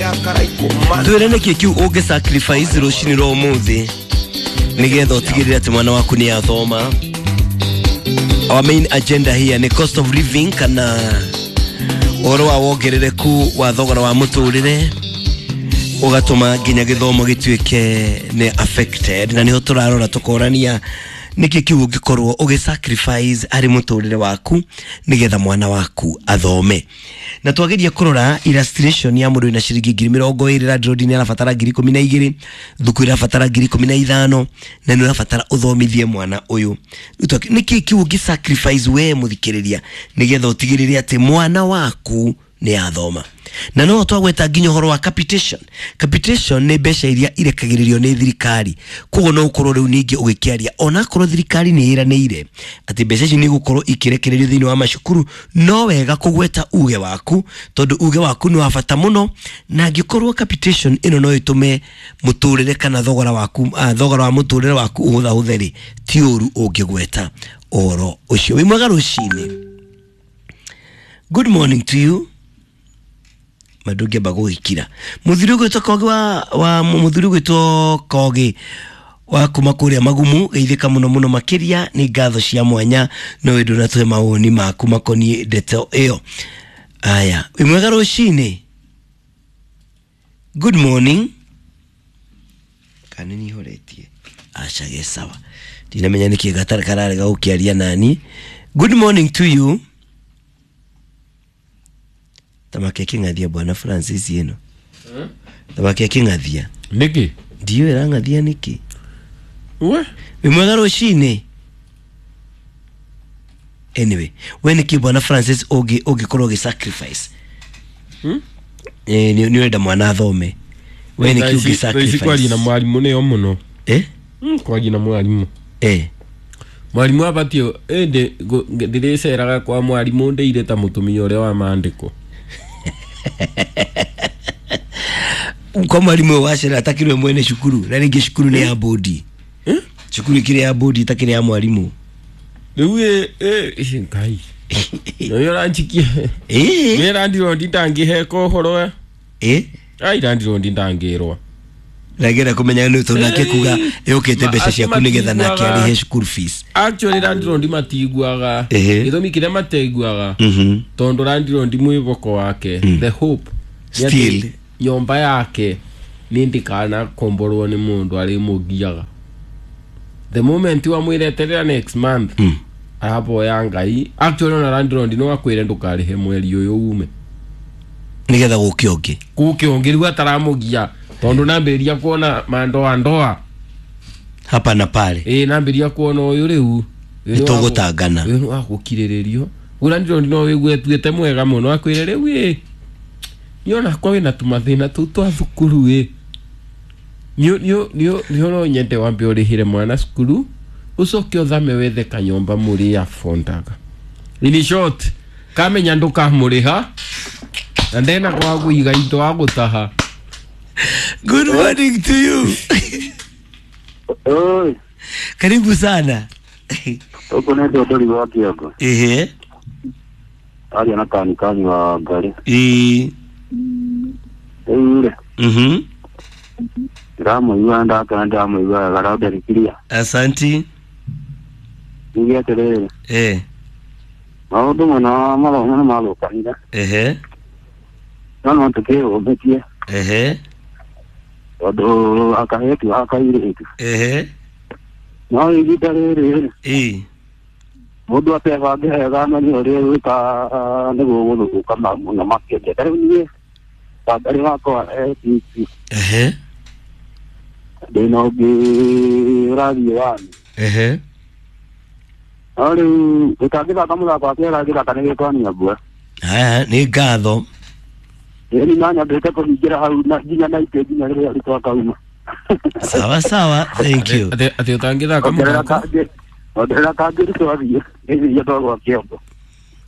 Twĩre nĩkĩ kĩu ũngĩ sacrifice rũcinĩ rwa ũmũthĩ nĩgetha ũtigĩrĩre atĩ mwana waku nĩ athoma. Our main agenda here nĩ cost of living kana ũhoro wa wongerereku wa thogora wa mũtũrĩre ũgatũma nginya gĩthomo gĩtuĩke nĩ affected, na nĩho tũrarora tũkorania nĩkĩ kĩu ũngĩkorwo ũgĩ sacrifice harĩ mũtũrĩre waku nĩgetha mwana waku athome. Na twageria kũrora illustration ya mũndũ wĩna ciringi 20,000, landlord nĩ arabatara 12,000, thukuru irabatara 15,000, na nĩ ũrabatara ũthomithie mwana ũyũ. Nĩkĩ kĩu ũngĩ sacrifice we mũthikĩrĩria nĩgetha ũtigĩrĩre atĩ mwana waku nĩ athoma? Na no twagweta nginya ũhoro wa capitation. Capitation nĩ mbeca iria irekagĩrĩrio nĩ thirikari, koguo no ũkorwo rĩu ningĩ ũgĩkĩaria onakorwo thirikari nĩ ĩranĩire atĩ mbeca ici nĩ igũkorwo ikĩrekererio thĩinĩ wa macukuru, no wega kũgweta uge waku tondũ uge waku nĩ wa bata mũno, na angĩkorwo capitation ĩno no ĩtũme mũtũrĩre kana thogora waku, thogora wa mũtũrĩre waku ũhũthahũthe rĩ, ti ũru ũngĩgweta ũhoro ũcio. Wĩ mwega rũcinĩ. Good morning to you. Mandũngĩamba gũgĩkira mũthuri ũgwĩtwo Kogi wa mũthuri ũgwĩtwo Kogi wa kuma kũrĩa Magumu, geithĩka mũno mũno makĩria, nĩ ngatho cia mwanya no wĩ ndũnatũhe mawoni maku makoniĩ ndeto ĩyo. Aya, wĩ mwega rũcinĩ. Good morning. Kana nĩ horetie? Aca, ge sawa, ndinamenya nĩkĩ gatarĩ kararega gũkĩaria nani. Good morning to you. Thamaki akĩng'athia bwana Francis ĩno thamaki akĩng'athia. Nĩkĩ? Ndiũĩ ĩrang'athia nĩkĩ. We. Wĩ mwega rũcinĩ. Anyway, we nĩkĩ bwana Francis ũngĩkorwo ũgĩ sacrifice? Eh, nĩ ũrenda mwana athome, we nĩkĩ ũngĩ Thaa ici kwaria na sacrifice? mwarimũ nĩyo mũno. Eh? Kwaria na mwarimũ. Eh. Mwarimũ abatiĩ ĩndĩ ndĩrĩceraga kwa mwarimũ ndĩire ta mũtumia ũrĩa wa maandĩko. Kwa mwarimu ũyũ wacera atakĩrĩ we mwene cukuru, na rĩngĩ cukuru nĩ ya bodi, cukuru ĩkĩrĩ ya bodi ĩtakĩrĩ ya mwarimũ. Rĩu ĩ Ngai nĩyo ũranjikia. Eh. Nĩ landirondi ndangĩheka ũhoro. Eh. Ai, landirondi ndangĩrwa. Nagera kũmenya nĩ tondũ nake kuga yũkĩte mbeca Acio ciaku nĩgetha nake matiguaga. arĩhe school fees. Actually landirondi matiguaga. Ehe. Gĩtũmi kĩrĩa mateiguaga, tondũ landirondi mwĩvoko wake, the hope nĩ atĩ Still. nyũmba yake nĩ ndĩkanakomborwo nĩ mũndũ arĩmũgiaga. The moment wamwĩreterera next month, araboya Ngai. Actually ona landlord no akwĩre ndũkarĩhe mweri ũyũ ume. Nĩgetha gũke ũngĩ. Gũke ũngĩ rĩu ataramũgia, tondũ nambĩrĩria kuona mandoa ndoa hapa na pale. Ĩ, nambĩrĩria kuona ũyũ rĩu Nĩ tũgũtangana. Ũyũ nĩ wa gũkirĩrĩrio. Rĩu landlord no wĩgue atuĩte mwega mũno, akwĩre rĩu ĩ niĩ onakwa wĩna tũmathĩna tũu twa thukuru ĩ nĩ no nyende wambe ũrĩhĩre mwana cukuru ũcoke ũthame wethe kanyũmba mũrĩ afondaga. In short, kamenya ndũkamũrĩha na ndena gwa kũiga indo wa gũtaha. Good morning to you. Oi, Karibu sana. huku nĩ ndondori wa Kĩongo. Ehe. Aria na kani kani wa Ngarĩ. Ĩĩ. Rĩu rĩ, ndĩramũigua ndakena, ndĩramũigua wega randarikiria. Asanti. Njuge atĩrĩrĩ, Eh. maũndũ mũno mathomo nĩ mathũkanire. Ehe. No no tũkĩyũmbĩtie Ehe. tondũ akahetu akairĩtu. Ehe. No ihinda rĩrĩ rĩ, Ĩĩ. mũndũ atebange wega amenye ũrĩa egwĩka nĩguo gũthũka mũno makĩria. Ta rĩu niĩ Wangarĩ wakwa e Ehe. ndĩna ũngĩ ũrathiĩ wani. Ehe. No rĩu gũtangĩthaka mũthako wa kĩara gĩthaka nĩ gĩkwania mbua. Haya, nĩ ngatho. Ĩni na nyambĩte kũhingĩra hau na nginya na itĩ nginya rĩrĩa arutwo akauma. Sawa sawa, thank you. Atĩ ũtangĩthaka Ongerera mũthako kangĩ, ongerera kangĩ twathiĩ nĩthiĩ twagwa kĩongo.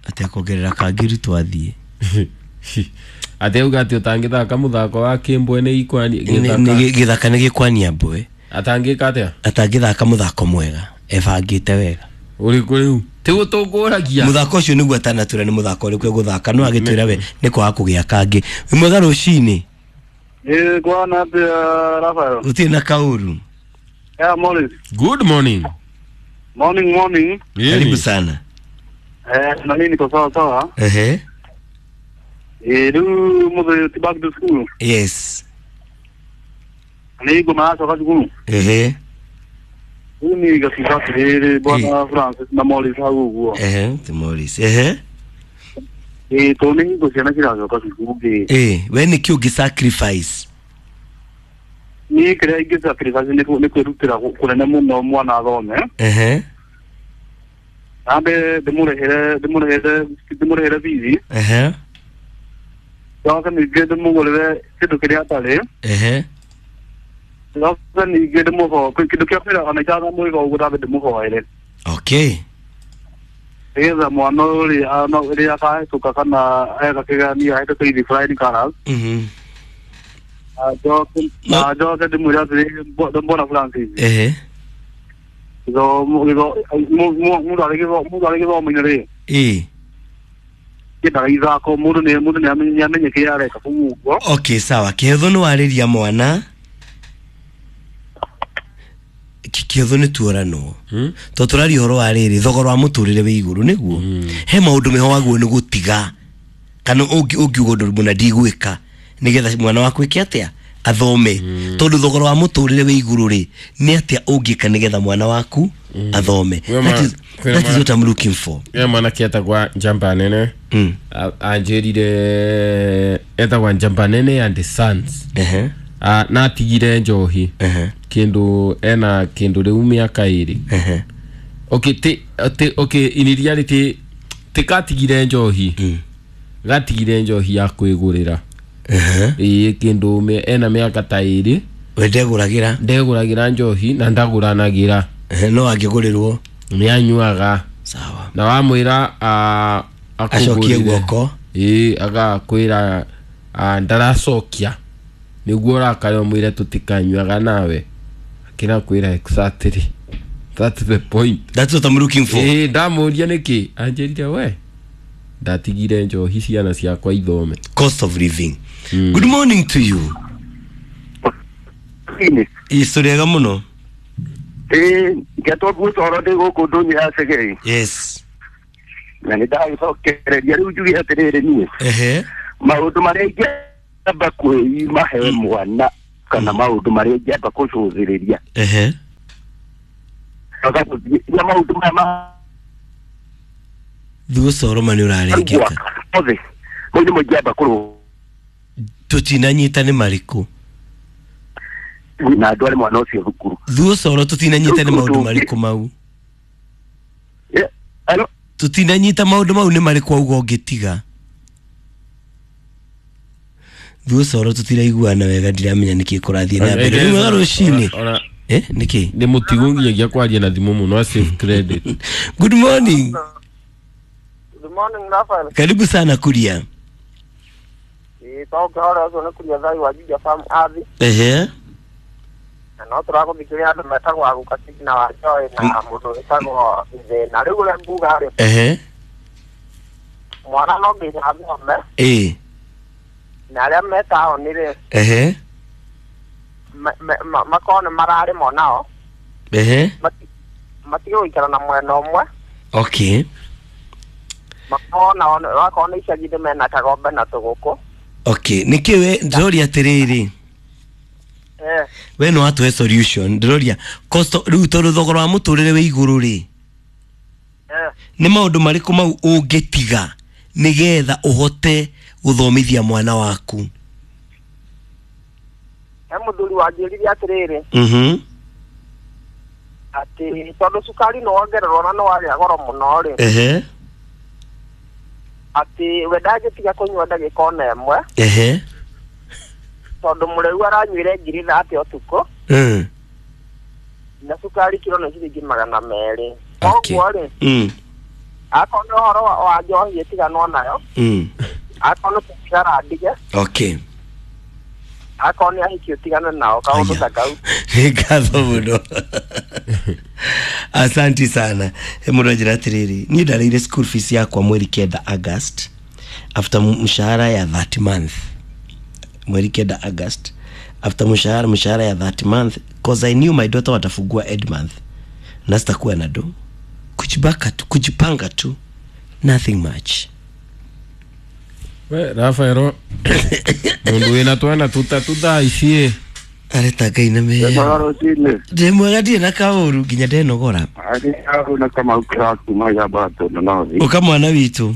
Atĩ kuongerera kangiri twathiĩ. Atĩ auga atĩ ũtangĩthaka mũthako wa kĩmbwe nĩ ikwani Nĩ gĩthaka nĩ gĩkwania mbwe. Atangĩka atĩa? Atangĩthaka mũthako mwega ebangĩte wega. Ũrĩkũ rĩu tiguo tũkũragia? Mũthako ũcio nĩguo atanatwĩra nĩ mũthako ũrĩkũ egũthaka, no agĩtwĩra we nĩ kwaga kũgĩa kangĩ. Wĩ mwega rũcinĩ. Ĩ kwana atĩa Rafael? Gũtirĩ na kaũru. Yeah, Morris. Good morning. Morning, morning. Karibu sana. Na mimi niko sawa sawa. Ehe. Rĩu mũthĩ ti back to school. Yes. Nĩ ngoma yacoka cukuru. Ehe. Rĩu niĩ ngakiuga atĩrĩrĩ bwana Francis na Morris hau ũguo. Ehe, ti Morris. Ehe. Tondũ nĩ hingo ciana ciracoka cukuru rĩ. We nĩkĩ ũngĩ sacrifice? Niĩ kĩrĩa ingĩ sacrifice nĩ kwĩrutĩra kũnene mũno mwana athome. Ehe. Ambe ndĩmũrĩhĩre bithi. Ehe. Njoke ningĩ ndĩmũgũrĩre kĩndũ kĩrĩa atarĩ. Ehe. Njoke ningĩ kĩndũ kĩa mbere ona itanamwĩka ũguo ndambe ndĩmũhoere. Okay. Nĩgetha mwana ũrĩa rĩrĩa akahĩtũka kana eka kĩgeranio ahĩtũke with flying colours. Mhm. Na njoke ndĩmwĩre atĩrĩrĩ mbona Francis. Ehe. Mũndũ arĩ gĩthomo-inĩ rĩ. Ĩĩ. Kĩendaga ithako mũndũ nĩ amenye kĩrĩa areka kũu ũguo. Okay, sawa. Kĩhetho nĩ warĩria mwana. Kĩhetho nĩ tuoranwo. To tũraria ũhoro wa rĩrĩ thogora wa mũtũrĩre wĩ igũrũ nĩguo. He maũndũ meho waguo nĩ gũtiga. Kana ũngiuga ũndũ mũna ndigwĩka nĩgetha mwana waku ĩke atĩa athome. Tondũ thogora wa mũtũrĩre wĩ igũrũ rĩ nĩ atĩa ũngĩka nĩgetha mwana waku athome. That is what I'm looking for. Ya mwanake etagwa Njamba Nene. Anjĩrire etagwa Njamba Nene and the Sons. Ehe. Na atigire njohi. Ehe. Kĩndũ ena kĩndũ rĩu mĩaka ĩrĩ. Ehe. Okay, okay, in reality tikatigire njohi. Gatigire njohi ya kwĩgũrĩra. Ehe. Ĩĩ kĩndũ ena mĩaka ta ĩrĩ. We ndegũragĩra? Ndegũragĩra njohi na ndagũranagĩra. No angĩgũrĩrwo nĩanyuaga. Sawa. Na wamwĩra acokie guoko. Ĩĩ agakwĩra ndaracokia. Nĩguo ũrakare ũmwĩre tũtikanyuaga nawe. Akĩra kwĩra exactly. That's the point. That's what I'm looking for. Ĩĩ ndamũria nĩkĩ? Anjĩrire we ndatigire njohi ciana ciakwa ithome. Cost of living. Good morning to you. Ĩĩ mũno. Ngetwo gucoro ndĩ gũkũ ndũnyũ ya Cegei. Yes. Na nĩ ndagĩcokereria rĩu njuge atĩrĩrĩ niĩ. Ehe. Maũndũ marĩa ingĩamba kwĩima he mwana kana maũndũ marĩa ingĩamba kũcũthĩrĩria. Ehe. Na maũndũ maya Thucoro ma nĩ ũrarengeka. Othe. Mau nĩmo ingĩamba kũrũ. Tũtinanyita nĩ marĩkũ? Na andũ mwana ũcio thukuru. Thucoro tũtinanyita nĩ maũndũ marĩkũ mau? Hello? Tũtinanyita maũndũ mau nĩ marĩkũ auga ũngĩtiga? Thucoro tũtiraiguana wega ndiramenya nĩkĩ kũrathiĩ na mbere. Rĩu wega rũcinĩ. Nĩkĩ? Nĩ mũtigo nginyagia kwaria na thimũ mũno save credit. Good morning. Good morning Rafael. Karibu sana Kuria. Toka hora ũcio nĩ Kuria thai wa Juja Farm Athi. Ehe. Na no tũragũthikĩrĩria andũ metagwo Aguka na wa Joy na mũndũ wĩtagwo Thĩna. Rĩu ũrĩa nguga rĩ. Ehe. Mwana no nginya athome. Ĩĩ. Na arĩa me taũni rĩ. Ehe. Makorwo nĩ mararĩma onao. Ehe. Matige gũikara na mwena ũmwe. Okay. Makorwo nao wakorwo nĩ icagi-inĩ mena kagombe na tũgũkũ. Okay, nĩkĩ we ndĩroria atĩrĩrĩ. We no atũhe solution ndĩroria cost rĩu tondũ thogora wa mũtũrĩre wĩ igũrũ rĩ. Nĩ maũndũ marĩkũ mau ũngĩtiga nĩgetha ũhote gũthomithia mwana waku? He mũthuri wanjĩrire atĩrĩrĩ. Mhm. Atĩ tondũ cukari nĩ wongererwo na nĩ wagĩa goro mũno rĩ. Ehe. Atĩ we ndangĩtiga kũnyua ndagĩka ona ĩmwe. Ehe. Tondũ mũrĩu aranyuire 30 ũtukũ. Na cukari kiro nĩ ciringi 200. Koguo rĩ. Akorwo nĩ ũhoro wa njohi ĩtiganwo nayo. Akorwo nĩ thigara ndige. Okay. Akorwo nĩ ahiki ũtigane nao kaũndũ ta kau. Nĩ ngatho mũno. Asanti sana. Mũndũ anjĩra atĩrĩrĩ, niĩ ndarĩire school fees yakwa mweri 9 August after mshahara ya that month. Mweri 9 August after mshahara ya that month, cause I knew my daughter watafungua ed month na sitakuwa na do. Kujibaka tu, kujipanga tu, nothing much. We Rafaelo mundu wina twana tutatu thaa ici areta ngai na meya ndĩ mwega ndirĩ na kaũru nginya ndenogora. Ũka mwana witũ.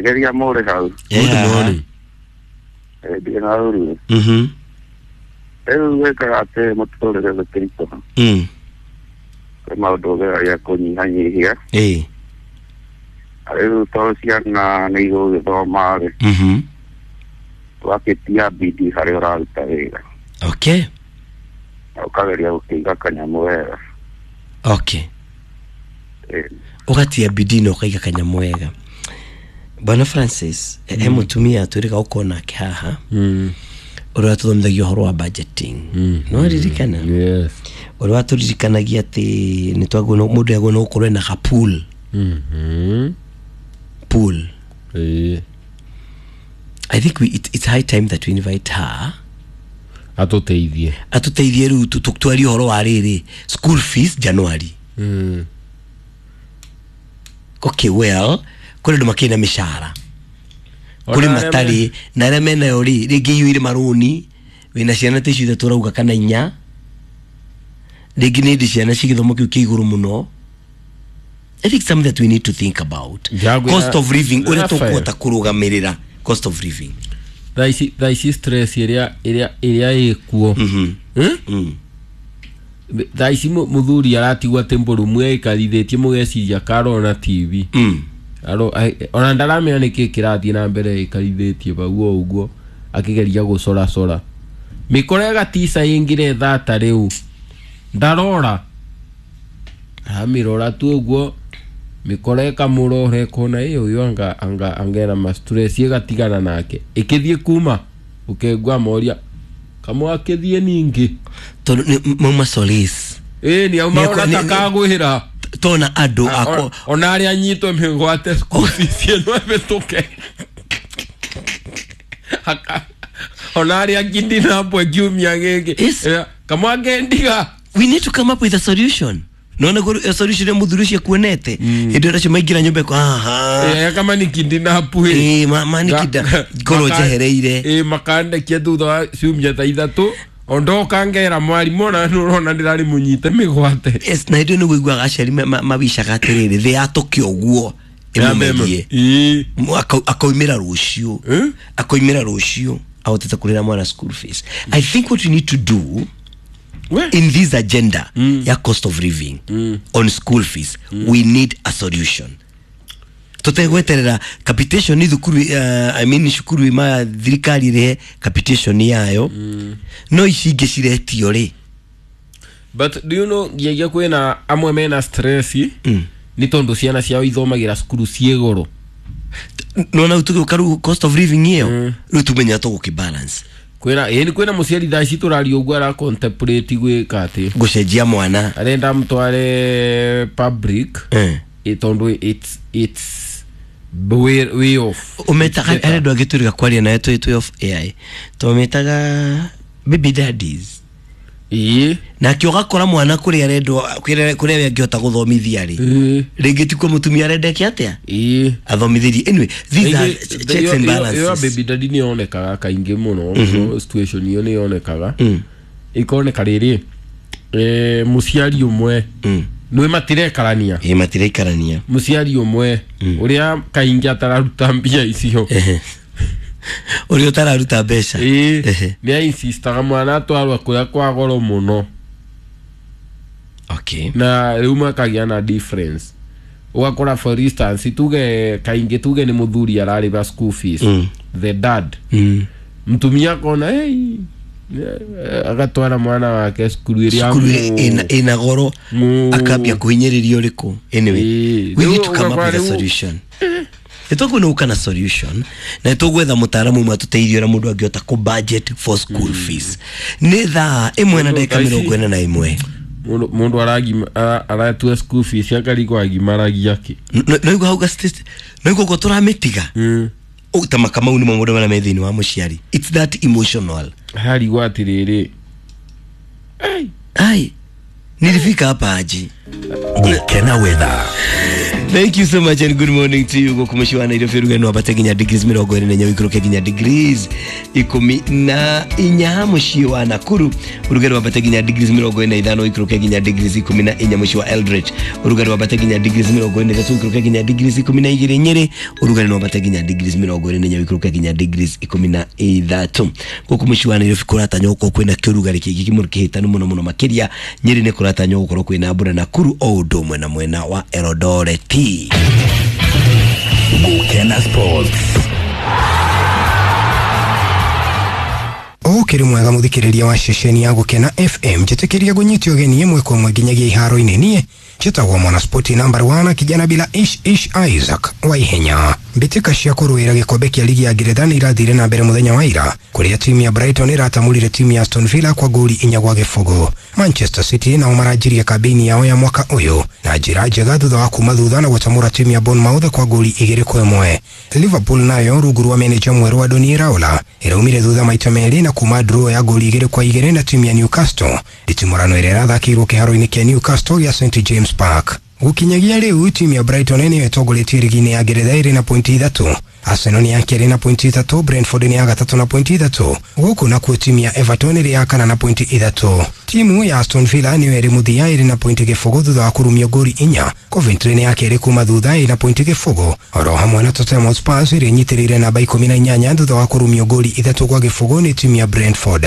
Geria mũrĩ hau. Good morning. Ndirĩ na ũru. Rĩu wĩkaga atĩ mũtũrĩre gũtirikũha. Kwĩ maũndũ ũgeragia kũnyihanyihia. Rĩu tondũ ciana nĩ igũgĩthoma rĩ, ũgakĩtia bidii harĩa ũraruta wĩra. Okay. Na ũkageria gũkĩiga kanyamũ wega. Okay. Ũgatia bidii na ũkaiga kanyamũ wega. Bwana Francis, he mũtumia twĩrĩga gũkorwo nake haha ũrĩa watũthomithagia ũhoro wa budgeting. No ririkana? Yes. Ũrĩa watũririkanagia atĩ nĩ twagĩrĩirwo mũndũ agĩrĩirwo gũkorwo ena ga pool. Pool. I think it's high time that we invite her. Atũteithie. Atũteithie rĩu tũtwarie ũhoro wa rĩrĩ school fees January. Okay, well, kũrĩ andũ makĩrĩ na mĩcara, kũrĩ matarĩ, na arĩa menayo rĩ rĩngĩ iyũire marũni, wĩna ciana ta icio ithatũ ũrauga kana inya, rĩngĩ nĩ ndĩ ciana ci gĩthomo kĩu kĩa igũrũ mũno. I think something that we need to think about. Cost of living, ũrĩa tũkũhota kũrũgamĩrĩra cost of living. Thaa ici stress ĩrĩa ĩkuo. Thaa ici mũthuri aratigwo atĩ mbũrũmu aikarithĩtie mũgeciria karona TV. Ona ndaramenya nĩkĩ kĩrathiĩ na mbere ĩkarithĩtie bau o ũguo akĩgeria gũcoracora mĩkora ĩgatica ĩngĩre thata rĩu ndarora aramĩrora tu ũguo mĩkora ĩkamũrora ĩkona ĩ ũyũ anga angera ma stress ĩgatigana nake ĩkĩthiĩ kuma ũkengwa moria kamwe akĩthiĩ ningĩ tondũ mauma solace ĩ nĩ auma ona takagwĩra tona andũ ako ona arĩa anyitwo mĩgwate school fees ĩno ĩhĩtũke ona arĩa kidnap kiumia gĩkĩ kamwe ngendiga. We need to come up with a solution. Nona go solution ya mũthuri ũcio kuonete hĩndĩ ĩrĩa maingĩra nyũmba ĩko aha kama ni kidnap ma ni kida ngoro njehereire makandekia thutha wa ciumia ta ithatũ ondoka ngera mwarimu ona nũrona ndĩrarĩ mũnyite mĩgwate. Yes, na hĩndĩ nĩguo aciari mawicaga atĩrĩrĩ thĩ yatũke ũguo ĩmũmerie akoimĩra rũciũ akoimĩra rũciũ ahotete kũrĩra mwana school fees. I think what we need to do in this agenda ya cost of living on school fees, we need a solution. Tutegweterera capitation ni thukuru I mean cukuru ma thirikari re capitation yayo no ici ingĩ ciretio rĩ. But do you know nginya kwĩna amwe mena stress ni tondu ciana ciao ithomagira cukuru ciĩ goro. Nona utuge rĩu cost of living ĩyo rĩu tumenya tũgũkĩ balance kwĩna ĩni kwĩna mũciari thaa ici tũraria ũguo ara contemplate gwĩka atĩ gũcenjia mwana arenda mtware public tondu it's way off. Umetaga arĩa andũ angĩ twĩrĩga kwaria nawe twĩ off AI tũmetaga baby daddies. Nake ũgakora mwana kũrĩa arendwo kũrĩa angĩhota gũthomithia rĩ rĩngĩ ti kuo mũtumia arendeke atĩa athomithĩrie. Anyway, these are checks and balances. Ĩyo baby daddy nĩ yonekaga kaingĩ mũno, situation ĩyo nĩ yonekaga ĩkoneka rĩrĩ mũciari ũmwe nĩ matirekarania matirekarania mũciari ũmwe ũrĩa kaingĩ atararuta mbia icio ũrĩa ũtararuta mbeca nĩ ainsistaga mwana atwarwo kũrĩa kwa goro mũno. Okay. Na rĩu makagĩa na difference ũgakora for instance tuge kaingĩ tuge nĩ mũthuri ararĩba school fees the dad mtumia akona hey agatwara mwana wake cukuru ĩrĩa ĩna goro akambia kũhinyĩrĩrio ũrĩkũ. Anyway, we need to come up with a solution. Nĩtũkuona gũka na solution na nĩtũgwetha mũtaaramu ũmwe atũteithie ũrĩa mũndũ angĩhota kũ budget for school fees. Nĩ thaa 1:41. Mũndũ aratua school fees akarigwo agimaragia kĩ. Noigua hau noigua ũguo tũramĩtiga Ta makamau nĩ mo maũndũ marĩa me thĩinĩ wa mũciari. It's that emotional. Harigwo atirĩrĩ. Ai, nilifika hapa aji. Gukena weather. Thank you so much and good morning to you. Guku muciĩ wa Nairobi rugano wambate nginya degrees 24 wikũrũke nginya degrees 14. Muciĩ wa Nakuru ũrugarĩ wambate nginya degrees 45 wikũrũke nginya degrees 14. Muciĩ wa Eldoret ũrugarĩ wambate nginya degrees 43 wikũrũke nginya degrees 12. Nyĩrĩ ũrugarĩ wambate nginya degrees 24 wikũrũke nginya degrees 13. Guku muciĩ wa Nairobi kũratanywo gũkorwo kwĩna kĩũrugarĩ kĩingĩ kĩmũrũ kĩhĩtanu mũno mũno makĩria. Nyĩrĩ nĩ kũratanywo gũkorwo kwĩna mbura. Nakuru o ũndũ ũmwe na mwena wa Eldoret. Gukena Sports. Ũkĩrĩ mwega mũthikĩrĩria wa ceceni ya Gũkena FM, njĩtĩkĩria ngũnyite ũgeni ĩmwe kwa ĩmwe nginyagia iharo-inĩ. Niĩ njĩtagwo Mwanaspoti number 1, kijana bila ish ish Isaac wa ihenya. Mbĩtĩka cia kũrũĩra gĩkombe kĩa ligi ya Ngeretha nĩ irathire na mbere mũthenya wa ira, kũrĩa timu ya Brighton ĩratamũrire timu ya Aston Villa kwa ngoli 4-0. Manchester City nao maranjirie kambĩini yao ya mwaka ũyũ na njĩra njega thutha wa kuma thutha na gũtamũra timu ya Bournemouth kwa ngoli 2-1. Liverpool nayo rungu rwa meneja mwerũ Andoni Iraola ĩraumire thutha maita merĩ na kuma draw ya ngoli 2-2 na timu ya Newcastle. Nditimũrano ĩrĩa ĩrathakĩirwo kĩharo-inĩ kĩa Newcastle gĩa St James Park. Gũkinyagia rĩu timu ya Brighton nĩyo ĩtongoretie ligi-inĩ ya Ngeretha ĩrĩ na pointi 3. Arsenal nĩ ya kerĩ na pointi 3, Brentford nĩ ya gatatũ na pointi 3. Gũkũ nakuo timu ya Everton ĩrĩ ya kana na pointi 3. Timu ya Aston Villa nĩyo ĩrĩ mũthia ĩrĩ na pointi 0 thutha wa kũrumio ngoli 4. Coventry nĩ ya kerĩ kuma thutha ĩrĩ na pointi 0. Oro hamwe na Tottenham Hotspur ĩrĩa ĩnyitĩrĩire namba 18 thutha wa kũrumio ngoli 3-0 nĩ timu ya Brentford.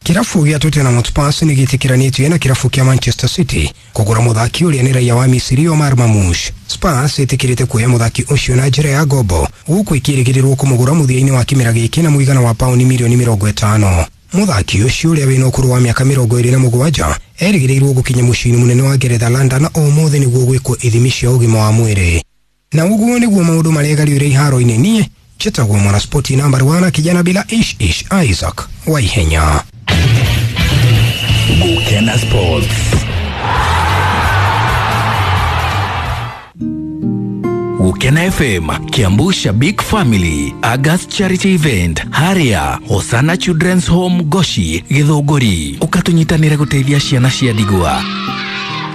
Kirabu gĩa Tottenham Hotspur nĩ gĩtĩkĩranĩtio na kirabu kĩa Manchester City kũgũra mũthaki ũrĩa nĩ raia wa Misiri Omar Marmoush. Spurs ĩtĩkĩrĩte kuoya mũthaki ũcio na njĩra ya ngombo, gũkũ ĩkĩrĩgĩrĩrwo kũmũgũra mũthia-inĩ wa kĩmera gĩkĩ na mũigana wa pauni mirioni 50. Mũthaki ũcio ũrĩa wĩna ũkũrũ wa mĩaka 27 erĩgĩrĩirwo gũkinya mũciĩ-inĩ mũnene wa Ngeretha London ũmũthĩ nĩguo gwĩkwo ithimi cia ũgima wa mwĩrĩ. Na ũguo nĩguo maũndũ maregariũre iharo-inĩ. Niĩ njĩtagwo Mwanaspoti number 1, kijana bila ish ish Isaac wa ihenya. Gukena Sports. Gukena FM, Kiambu Shabik Family, August Charity Event, Haria, Hosana Children's Home Goshi, Githũngũri. Ũkatunyitanĩre gũteithia ciana cia ndigwa.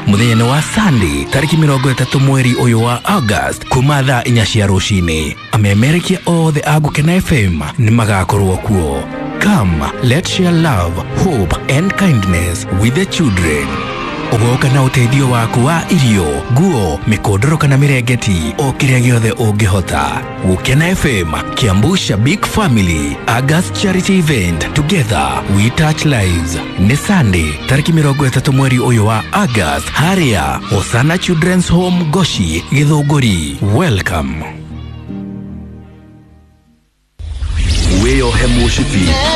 Mũthenya wa Sunday tarĩki 30 mweri ũyũ wa August kuma thaa 4 cia rũcinĩ. Amemerekia othe a Gukena FM nĩ magakorwo kuo. Come, let's share love, hope and kindness with the children. Ũgoka na ũteithio waku wa irio, nguo, mĩkondoro kana mĩrengeti, o kĩrĩa gĩothe ũngĩhota. Gukena FM, Kiambu Shabik Family, August Charity Event, Together We Touch Lives. Nĩ Sunday, tarĩki 30 mweri ũyũ wa August, harĩa Hosana Children's Home Goshi, Githũngũri. Welcome. Wĩyohe mũcibi.